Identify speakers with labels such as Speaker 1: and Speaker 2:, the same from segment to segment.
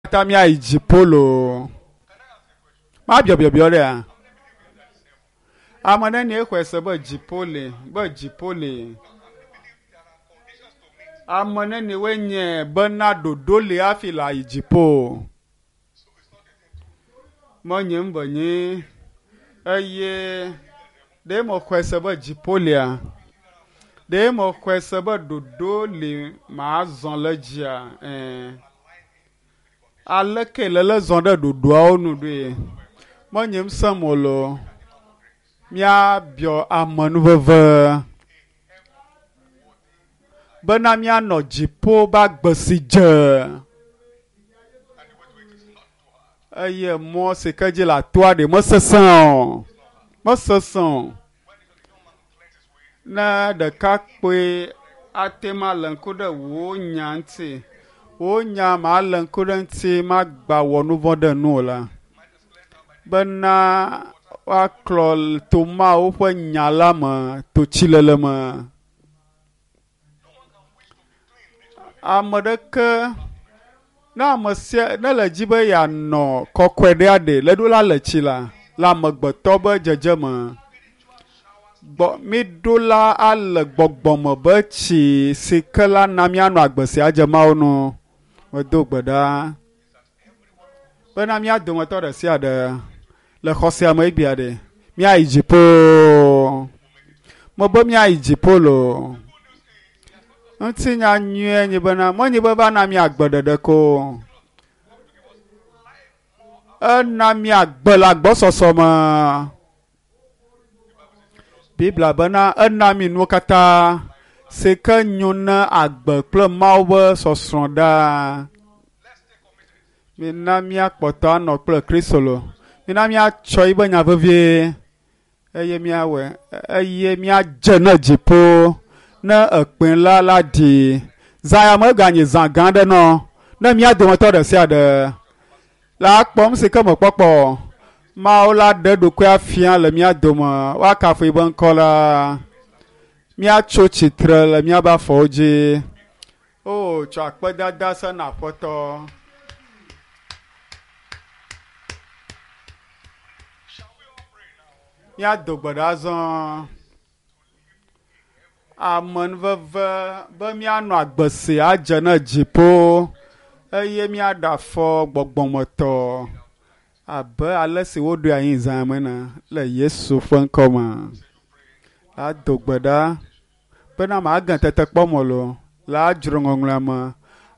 Speaker 1: Katã míayi dziƒo loo. Mabiɔ biɔbiɔ ɖea? Ame nenie xɔe se be dziƒo li, be dziƒo li? Ame nenie nye bena ɖoɖo li hafi le ayi dziƒo? Menye ŋu be nyi eye ɖe mexɔe se be dziƒo lia? Ɖe mexɔe se be ɖoɖo li mazɔ le dzia? Ɛ̃. Aleke lele zɔ ɖe ɖoɖoawo nu ɖoe? Menye ŋusẽ mo loo. Míabiɔ amenuveve bena míanɔ dziƒo ƒe agbe si dze eye mɔ si ke dzi le atoa ɖe mesesẽ o, mesesẽ o. Ne ɖekakpui ate ŋu alé ŋku ɖe wò nya ŋuti, wò nya malé ŋku ɖe eŋuti magba wɔ nu vɔ̃ ɖe nu o la, bena woaklɔ to Mawu ƒe nya la me to tsilele me. Ame ɖeke ne ame sia ne le dzi be yeanɔ kɔkɔe ɖea ɖe le ɖo la le tsi la le amegbetɔ be dzedzeme. Gbɔ míɖo la ale gbɔgbɔme be tsi si ke la na míanɔ agbe sia dze Mawu nu. Medo gbe ɖa bena mía dometɔ ɖe sia ɖe le xɔ sia me egbea ɖe míayi dziƒo. Mebe míayi dziƒo loo. Ŋutinya nyuie nye bena menye be va na mí agbe ɖeɖe ko o. Ena mí agbe le agbɔsɔsɔ me. Biblia bena ena mí nuwo katã si ke nyo na agbe kple Mawu ƒe sɔsrɔ̃ ɖaa. Mina míakpɔtɔ anɔ kple Kristo lo. Mina míatsɔ yiƒe nya vevie eye míawɔe eye míadze ne dziƒo ne ekpẽ la la ɖi. Zã ya meganyi zã gã aɖe nɔ ne mía dometɔ ɖe sia ɖe la kpɔm si ke mekpɔkpɔ. Mawu la ɖe eɖokui afia le mía dome woakafu yiƒe ŋkɔ la. Míatso tsitre le míaƒe afɔwo dzi. O tsɔ akpedada se na Aƒetɔ. Míado gbe ɖa azɔ. Amenuveve be míanɔ agbe si adze na dziƒo eye míaɖe afɔ gbɔgbɔmetɔ abe ale si woɖoe anyi zã me ene le Yesu ƒe ŋkɔ me. Ado gbe ɖa bena mage tetekpɔ me loo le adzro ŋɔŋlɔa me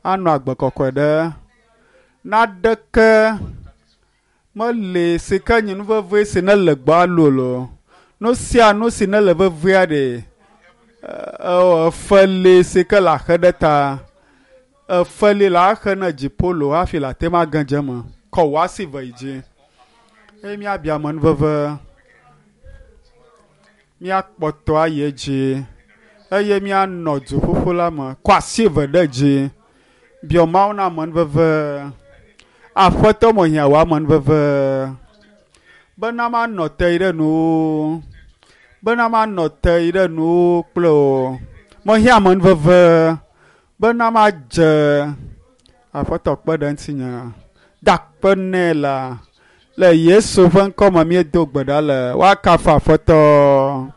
Speaker 1: anɔ agbe kɔkɔe ɖe. Naɖeke meli si ke nye nu vevie si nele gbɔ alu o. Nu sia nu si nele vevia ɖe efe li si ke le axe ɖe ta. Efe li le axe ne dziƒo loo hafi le ate ŋu age dze eme. Kɔ wò asi ve yi dzi eye míabia amenuveve. Míakpɔtɔ ayi edzi eye míanɔ duƒuƒu la me. Kɔ asi eve ɖe dzi. Biɔ Mawu na amenuveve. Aƒetɔ mehiã wò amenuveve bena manɔ te yi ɖe nuwò, bena manɔ te yi ɖe nuwò kple wò. Mehiã amenuveve bena madze Aƒetɔ kpe ɖe ŋutinye. Da akpe nɛ la le Yesu ƒe ŋkɔ me míedo gbe ɖa le. Woakafu Aƒetɔ.